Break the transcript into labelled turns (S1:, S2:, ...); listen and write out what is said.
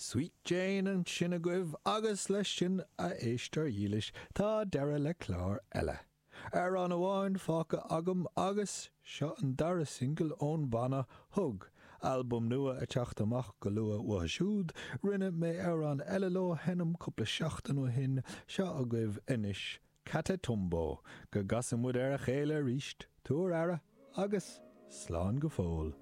S1: Sweet Jane ansin agaibh agus leis sin, a éisteoir dhílis, tá deireadh le clár eile. Amhrán amháin fágtha agam agus seo an dara singil ón mbanna Hug, albam nua ag teacht amach go luath uathu siúd. Rinne mé amhrán eile leo a sheinm cúpla seachtain ó shin, seo agaibh anois Catatumbo. Go gcasa muid ar a chéile arís, tabhair aire agus slán go fóill.